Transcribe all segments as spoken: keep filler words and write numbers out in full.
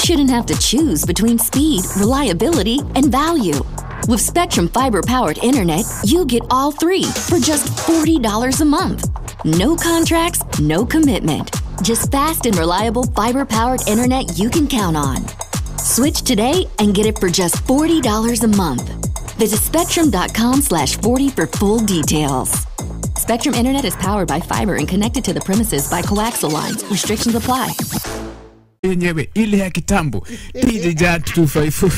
shouldn't have to choose between speed, reliability, and value. With Spectrum Fiber powered internet, you get all three for just forty dollars a month. No contracts, no commitment. Just fast and reliable fiber powered internet you can count on. Switch today and get it for just forty dollars a month. Visit spectrum dot com slash forty for full details. Spectrum Internet is powered by fiber and connected to the premises by coaxial lines. Restrictions apply. Yenyewe ile ya kitambo, D J Giant two five four.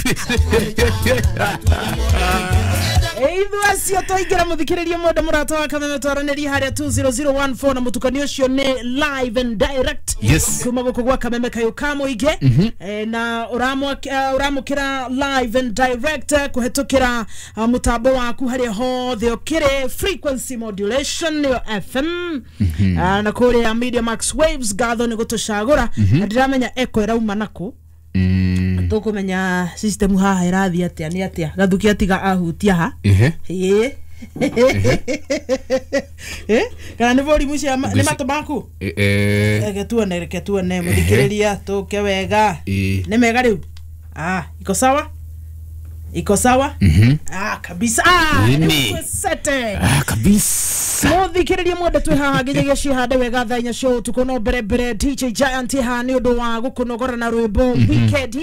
Ithu acio twaingĩra, mũthikĩrĩria mwenda mũrata wa Kameme, twaranĩria harĩa two zero zero one four na mũtukanio ũcio nĩ live and direct Yes. kuma gũkũ gwa Kameme kayũ ka mũingĩ. Eh, na ũramwa- eh, ũramũkĩra live and direct eh, kũhetũkĩra ah, mũtambo waku harĩa hothe ũkĩrĩ, frequency modulation nĩyo F M. Ah, na kũrĩa Media Max Waves, ngatho nĩ gũtũcagũra, na ndiramenya echo ĩrauma nakũ. Mm. Tũkũmenya system haha ĩrathiĩ atĩa, nĩ atĩa gathuki atiga ahutia ha. Ehe. Ĩĩ. Eh, kana nĩ volume cia nĩ matũ maku? Eh, eh, Reke tuone, reke tuone, mũthikĩrĩria, tũke wega. Ĩ. Nĩ mega rĩu. Ah, iko sawa, iko sawa. Mhm. Ah, kabisa. Ah, Nini? rĩu twĩcete. Ah, kabisa. Mũthikĩrĩria mwende, twĩ haha nginyagia cihande wega thaa inya cia ũtukũ, no mbere mbere D J Giant haha nĩ ũndũ wa gũkũnogora na rwĩmbo weekend.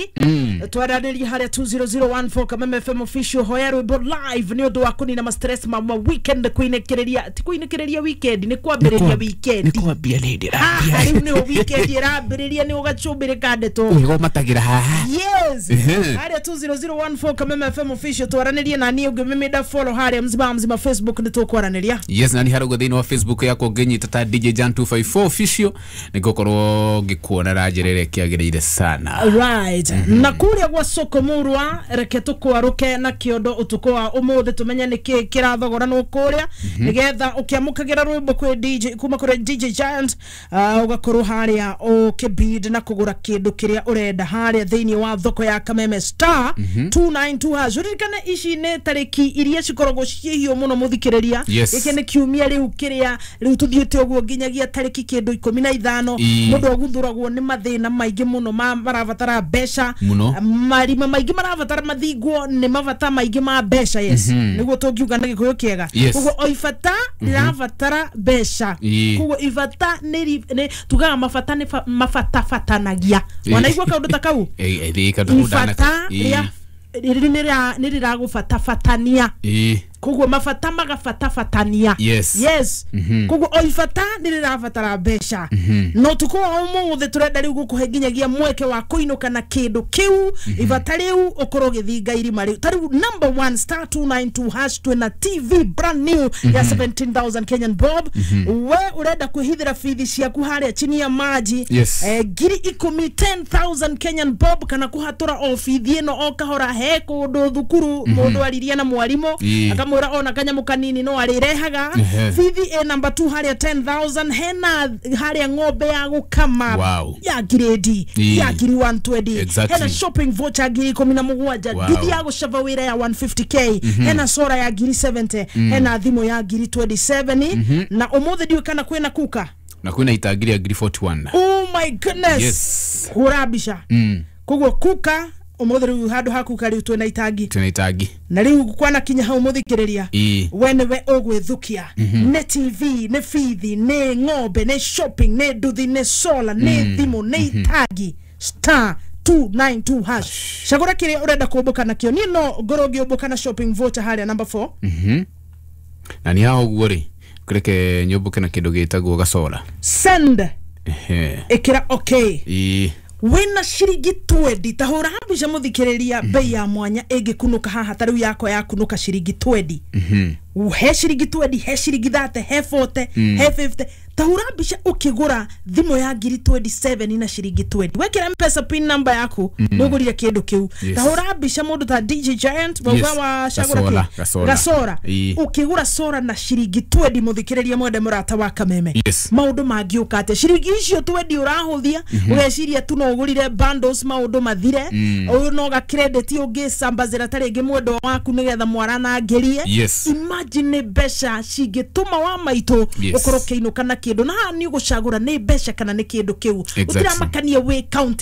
Twaranĩria harĩa two zero zero one four, Kameme F M official, hoya rwĩmbo live nĩ ũndũ wa kũnina ma stress ma ma weekend, kũinĩkĩrĩria, ti kũinĩkĩrĩria weekend, nĩ kwambĩrĩria weekend. Nĩ kwambia nĩ Haha ndĩrambia. Rĩu nĩho weekend ĩrambĩrĩria, nĩ ũgacumbĩrĩka ndeto. Wega ũmatagĩra haha. Yes. Ehe. Harĩa two zero zero one four, Kameme F M official, twaranĩrie na niĩ ũngĩmĩmĩnda follow harĩa mzima mzima Facebook, nĩ tũkwaranĩria. Yes, na nĩ harauga thĩinĩ wa Facebook yakwa ngĩnyita ta D J Jan two five four official, nĩngũkorwo ngĩkuona na njĩra ĩrĩa ĩkĩagĩrĩire sana. Right, na kuria gwa soko murwa, reke tukwaruke na kiondo utuku wa umuthi, tumenye niki kirathogoranwo kuria, nigetha ukiamukagira rwimbo kwi D J, kuma kuri D J Giant, uh, ugakorwo haria ukibid na kugura kindu kiria urenda haria thiini wa thoko ya Kameme, star two nine two hash. Uririkane ici ni tariki iria cikoragwo ciĩhiũ mũno, mũthikĩrĩria. Yes. Gĩkĩ nĩ kiumia rĩu kĩrĩa rĩu tũthiĩte ũguo nginyagia tarĩki kĩndũ ikũmi na ithano. Ii. Mũndũ aguthũragwo nĩ mathĩna maingĩ mũno ma marabatara mbeca. Mũno. Marima maingĩ marabatara mathingwo nĩ mabata maingĩ ma mbeca, yes, nĩguo tũngiuga na Gĩkũyũ kĩega. Yes. Koguo o ibata rĩrabatara mbeca. Ii. Koguo ibata nĩ ri- nĩ tugaga mabata nĩ fa- mabatabatanagia. Ii. Wanaigua kaũndũ ta kau? Eh, eh, ĩ, kaũndũ Ibata Ĩ. rĩa rĩrĩ nĩ rĩa- nĩ rĩragũbatabatania. Ĩ. Koguo mabata magabatabatania. Yes. Yes. Koguo o ibata nĩ rĩrabatara mbeca, no tukũ wa ũmũthĩ tũrenda rĩu gũkũhe nginyagia mweke wa kũinũka na kĩndũ kĩu, ibata rĩu ũkorwo ũgĩthinga irima rĩu. Ta rĩu number one, star two nine two hash, twĩna T V brand new ya seventeen thousand Kenyan bob. We ũrenda kwĩhithĩra bithi ciaku harĩa chini ya maji? Yes. eh, ngiri ikũmi, ten thousand Kenyan bob, kana kũhatũra o bithi ĩno o kahora. He kũndũ thukuru mũndũ aririe na mwarimũ Ii. akamwĩra ona kanyamũ kanini no arĩrehaga. Ehe. Bithi ĩ namba two harĩa ten thousand, hena harĩa ng'ombe ya gũkama Wow. ya ngirĩndi Ii. ya ngiri one twenty. Exactly. Hena shopping voucher ngiri ikũmi na mũgwanja. Wow. Nduthi ya gũcaba wĩra ya one fifty k, hena sora ya ngiri seventy, hena thimũ ya ngiri twenty-seven, na ũmũthĩ ndiũĩ kana kwĩna kuka. Na kwĩna itangi rĩa ngiri forty-one. Oh my goodness. Yes. Hũra mbica. Mm. Koguo kuka ũmũthĩ rĩu, handũ ha kuka rĩu twĩna itangi. Twĩna itangi. Na rĩu kwanakinya hau, mũthikĩrĩria, Ĩ. we nĩwe ũgwĩthukia, nĩ T V, nĩ bithi, nĩ ng'ombe, nĩ shopping, nĩ nduthi, nĩ solar, nĩ thimũ, nĩ itangi, star two nine two hash, cagũra kĩrĩa ũrenda kũmbũka nakĩo. Niĩ no ngorwo ngĩũmbũka na shopping voucher harĩa number four. Mhm. Na nĩ haha ũguo rĩ, kũreke nyũmbũke na kĩndũ gĩtagwo gacora. Send. Ehe. Ĩkĩra okay. Ĩ. Wĩna ciringi twenty, ta hũra mbica, mũthikĩrĩria, bei ya mwanya ĩngĩkunũka haha, ta rĩu yakwa yakunũka ciringi twenty, he ciringi twenty, he ciringi thirty, he forty, he fifty. Ta hũra mbica ũkĩgũra thimũ ya ngiri twenty-seven na ciringi twenty, wekĩra Mpesa pin number yaku, nĩ ũgũrire kĩndũ kĩu. Yes. Ta hũra mbica mũndũ ta D J Giant wauga Yes. wa cagũra Gasora, kĩ? gasora. Gasora. Ĩ. Ũkĩgũra sora na ciringi twenty, mũthikĩrĩria mwende mũrata wa Kameme, Yes. maũndũ mangĩũka atĩa? Ciringi icio twenty ũrahũthia, ũgeciria tu no ũgũrire bundles, maũndũ mathire. Ũyũ no ga credit ũngĩcambazĩra ta rĩngĩ mwendwa waku nĩgetha mwaranangĩrie. Yes. Imagine nĩ mbeca cingĩtũma wa maitũ Yes. ũkorwo ũkĩinũka na kĩndũ, na haha nĩ ũgũcagũra nĩ mbeca kana nĩ kĩndũ kĩu. Exactly. Gũtiramakania wĩ kaunti.